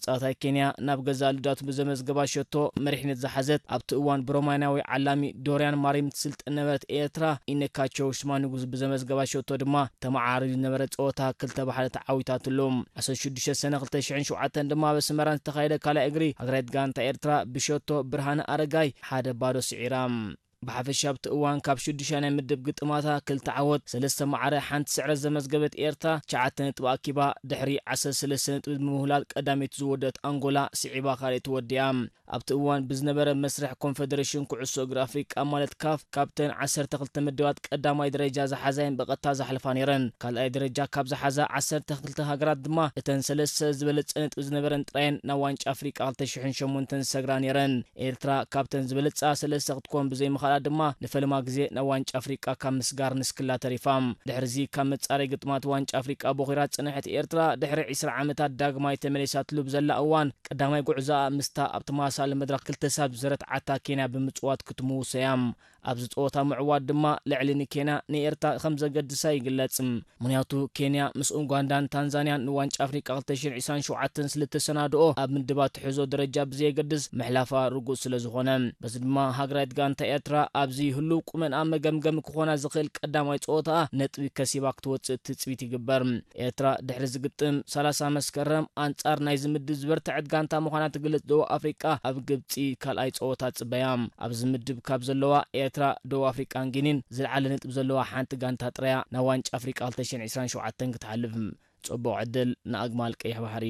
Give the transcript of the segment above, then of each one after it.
ተጻዋታይ ኬንያ ናብ ገዛእ ልዳቱ ብዘመዝገባ ሸቶ መሪሕነት ዝሓዘት፣ ኣብቲ እዋን ብሮማንያዊ ዓላሚ ዶርያን ማሪም ትስልጥን ነበረት ኤርትራ፣ ኢነካቸው ሽማንጉዝ ብዘመዝገባ ሸቶ ድማ ተመዓራሪዩ ዝነበረ ጸወታ ክልተ ብሓደ ተዓዊታትሉ። ዓሰርተ ሽዱሽተ ሰነ ክልተ ሽሕን ሸውዓተን ድማ ኣብ ኣስመራ ዝተኻየደ ካልኣይ እግሪ፣ ሃገራዊት ጋንታ ኤርትራ ብሸቶ ብርሃነ ኣረጋይ ሓደ ባዶ ስዒራ። ብሓፈሻ ኣብቲ እዋን ካብ ሽዱሽተ ናይ ምድብ ግጥማታ ክልተ ዓወት፣ ሰለስተ ማዕረ፣ ሓንቲ ስዕረት ዘመዝገበት ኤርትራ ትሽዓተ ነጥቢ ኣኪባ፣ ድሕሪ ዓሰርተ ሰለስተ ነጥቢ ብምውህላል ቀዳመይቲ ዝወደት ኣንጎላ ስዒባ ካልኣይቲ ወዲኣ። ኣብቲ እዋን ብዝነበረ መስርሕ ኮንፈደሬሽን ኩዕሶ እግሪ ኣፍሪቃ ማለት ካፍ፣ ካብተን ዓሰርተ ክልተ ምድባት ቀዳማይ ደረጃ ዝሓዛየን ብቐጥታ ዝሓልፋ ነይረን። ካልኣይ ደረጃ ካብ ዝሓዛ ዓሰርተ ክልተ ሃገራት ድማ እተን ሰለስተ ዝበለጸ ነጥቢ ዝነበረን ጥራየን ናብ ዋንጫ ኣፍሪቃ ክልተ ሽሕን ሸሞንተን ዝሰግራ ነይረን። ኤርትራ ካብተን ዝበለጻ ሰለስተ ክትኮን ብዘይምኽኣላ ድማ ንፈለማ ግዜ ናብ ዋንጫ ኣፍሪቃ ካብ ምስጋር ንስክላ ተሪፋ። ድሕሪዚ ካብ መጻረይ ግጥማት ዋንጫ ኣፍሪቃ ቦኺራ ዝጸንሐት ኤርትራ ድሕሪ ዕስራ ዓመታት ዳግማይ ተመሊሳትሉ ብዘላ እዋን ቀዳማይ ጉዕዞኣ ምስታ ኣብ ተመሳሳሊ መድረኽ ክልተ ሳብ ዝረትዓታ ኬንያ ብምጽዋት ክትምውሶ እያ። ኣብዚ ጸወታ ምዕዋት ድማ ልዕሊ ንኬንያ ንኤርትራ ከም ዘገድሳ ይግለጽ። ምኽንያቱ ኬንያ ምስ ኡጋንዳን ታንዛንያን ንዋንጫ ኣፍሪቃ ክልተ ሽሕን ዕስራን ሸውዓተን ስለ እተሰናድኦ ኣብ ምድባት ትሕዞ ደረጃ ብዘየገድስ ምሕላፋ ርጉጽ ስለ ዝኾነ። በዚ ድማ ሃገራዊት ጋንታ ኤርትራ ኣብዚ ህሉው ቁመንኣ መገምገሚ ክኾና ዝኽእል ቀዳማይ ጸወታኣ ነጥቢ ከሲባ ክትወጽእ ትጽቢት ይግበር። ኤርትራ ድሕሪ ዝግጥም ሰላሳ መስከረም ኣንጻር ናይዚ ምድብ ዝበርትዐት ጋንታ ምዃና ትገልጽ ደቡብ ኣፍሪቃ ኣብ ግብጺ ካልኣይ ጸወታ ትጽበያ። ኣብዚ ምድብ ካብ ዘለዋ ኤርትራ፣ ደቡብ ኣፍሪቃን ጊኒን ዝለዓለ ነጥቢ ዘለዋ ሓንቲ ጋንታ ጥራያ ናብ ዋንጫ ኣፍሪቃ ክልተ ሽሕን ዕስራን ሸውዓተን ክትሓልፍ። ጽቡቕ ዕድል ንኣግማል ቀይሕ ባሕሪ።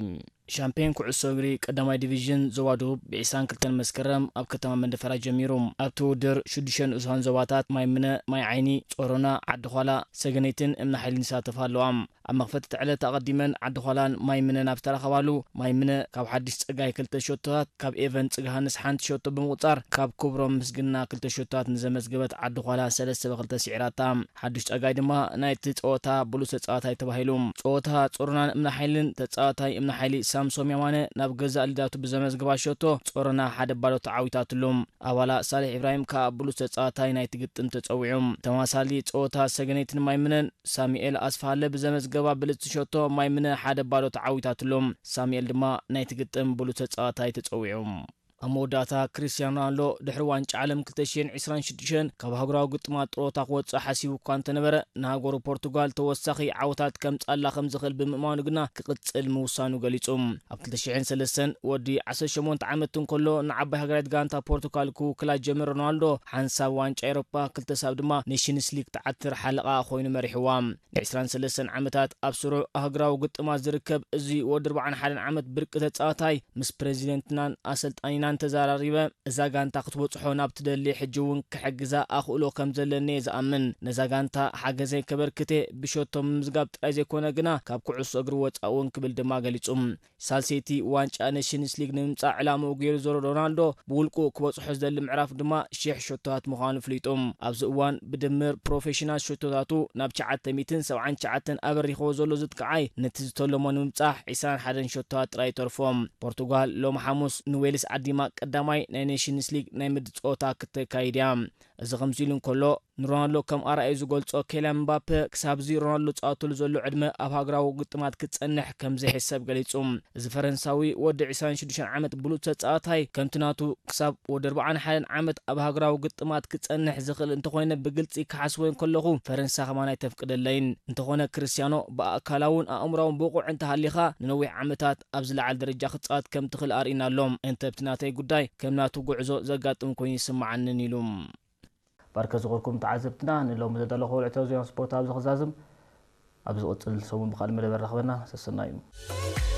ሻምፒዮን ኩዕሶ እግሪ ቀዳማይ ዲቪዥን ዞባ ደቡብ ብ ዕስራን ክልተን መስከረም ኣብ ከተማ መንደፈራ ጀሚሩ። ኣብቲ ውድድር ሽዱሽተ ንኡሳን ዞባታት ማይ ምነ፣ ማይ ዓይኒ፣ ጾሮና፣ ዓዲ ዃላ፣ ሰገነይትን እምኒ ሓይልን ይሳተፋ ኣለዋ። ኣብ መኽፈቲ እቲ ዕለት ኣቐዲመን ዓዲ ዃላን ማይ ምነን ኣብ ዝተራኸባሉ፣ ማይ ምነ ካብ ሓድሽ ጸጋይ ክልተ ሸቶታት፣ ካብ ኤቨን ጽግሃንስ ሓንቲ ሸቶ ብምቑጻር፣ ካብ ክብሮም ምስግና ክልተ ሸቶታት ንዘመዝገበት ዓዲ ዃላ ሰለስተ ብክልተ ስዒራታ። ሓድሽ ጸጋይ ድማ ናይቲ ጸወታ ብሉጽ ተጻዋታይ ተባሂሉ። ጸወታ ጾሮናን እምኒ ሓይልን፣ ተጻዋታይ እምኒ ሓይሊ ሳምሶም የማነ ናብ ገዛእ ልዳቱ ብዘመዝገባ ሸቶ ጾሮና ሓደ ባዶ ተዓዊታትሉ። ኣባላ ሳልሕ ኢብራሂም ከኣ ብሉጽ ተጻዋታይ ናይቲ ግጥም ተጸዊዑ። ተማሳሊ ጸወታ ሰገነይትን ማይ ምነን ሳሙኤል ኣስፋሃለ ብዘመዝገባ ብልጽቲ ሸቶ ማይ ምነ ሓደ ባዶ ተዓዊታትሎም። ሳሙኤል ድማ ናይቲ ግጥም ብሉጽ ተጻዋታይ ተጸዊዑ። ኣብ መወዳእታ ክርስቲያኖ ሮናልዶ ድሕሪ ዋንጫ ዓለም ክልተ ሽሕን ዕስራን ሽዱሽተን ካብ ኣህጉራዊ ግጥማት ጥሮታ ክወጽእ ሓሲቡ እኳ እንተነበረ፣ ንሃገሩ ፖርቱጋል ተወሳኺ ዓወታት ከምጽኣላ ከም ዝኽእል ብምእማኑ ግና ክቕጽል ምውሳኑ ገሊጹ። ኣብ ክልተ ሽሕን ሰለስተን ወዲ ዓሰርተ ሸሞንተ ዓመት እንከሎ ንዓባይ ሃገራዊት ጋንታ ፖርቱጋል ክውክላ ዝጀመረ ሮናልዶ፣ ሓንሳብ ዋንጫ ኤውሮፓ፣ ክልተ ሳብ ድማ ኔሽንስ ሊግ ትዓትር ሓለቓ ኮይኑ መሪሕዋ። ን ዕስራን ሰለስተን ዓመታት ኣብ ስሩዕ ኣህጉራዊ ግጥማት ዝርከብ እዚ ወዲ ኣርባዓን ሓደን ዓመት ብርቂ ተጻዋታይ ምስ ፕረዚደንትናን ኣሰልጣኒናን ተዘራሪበ፣ እዛ ጋንታ ክትበጽሖ ናብ ትደሊ ሕጂ እውን ክሕግዛ ኣኽእሎ ከም ዘለኒ እየ ዝኣምን። ነዛ ጋንታ ሓገዘይ ከበርክት እየ፣ ብሸቶ ምምዝጋብ ጥራይ ዘይኮነ ግና ካብ ኩዕሶ እግሪ ወጻኢ እውን ክብል ድማ ገሊጹ። ሳልሰይቲ ዋንጫ ኔሽንስ ሊግ ንምምጻእ ዕላምኡ ገይሩ ዘሎ ሮናልዶ፣ ብውልቁ ክበጽሖ ዝደሊ ምዕራፍ ድማ ሽሕ ሸቶታት ምዃኑ ኣፍሊጡ። ኣብዚ እዋን ብድምር ፕሮፌሽናል ሸቶታቱ ናብ ትሽዓተ ሚእትን ሰብዓን ትሽዓተን ኣበሪኽዎ ዘሎ ዝጥቅዓይ፣ ነቲ ዝተለሞ ንምብጻሕ ዕስራን ሓደን ሸቶታት ጥራይ ይተርፎ። ፖርቱጋል ሎሚ ሓሙስ ንዌልስ ዓዲማ ቀዳማይ ናይ ኔሽንስ ሊግ ናይ ምድብ ጸወታ ክተካይድ እያ። እዚ ከምዚ ኢሉ እንከሎ፣ ንሮናልዶ ከም ኣርኣዩ ዝገልጾ ኬልያን ምባፔ፣ ክሳብዚ ሮናልዶ ዝጻወተሉ ዘሎ ዕድመ ኣብ ሃገራዊ ግጥማት ክጸንሕ ከም ዘይሕሰብ ገሊጹ። እዚ ፈረንሳዊ ወዲ ዕስራን ሽዱሽተን ዓመት ብሉጽ ተጻዋታይ፣ ከምቲ ናቱ ክሳብ ወዲ ኣርባዓን ሓደን ዓመት ኣብ ሃገራዊ ግጥማት ክጸንሕ ዝኽእል እንተኾይነ ብግልጺ ክሓስቦ እንከለኹ፣ ፈረንሳ ከማን ኣይተፍቅደለይን። እንተኾነ ክርስቲያኖ ብኣካላውን ኣእምሮኣውን ብቑዕ እንተሃሊኻ፣ ንነዊሕ ዓመታት ኣብ ዝለዓለ ደረጃ ክጻወት ከም ትኽእል ኣርኢና ኣሎ። እንተ ብቲ ናተይ ጉዳይ ከም ናቱ ጉዕዞ ዘጋጥም ኮይኑ ይስምዓንን ኢሉ። ባርከ ዝኾንኩም ተዓዘብትና፣ ንሎሚ ዘዳለኹ ወልዕታዊ ዜና ስፖርት ኣብዚ ክዛዝም። ኣብ ዝቕጽል ሰሙን ብኻልእ መደበር ራኸበና። ሰሰናዩ።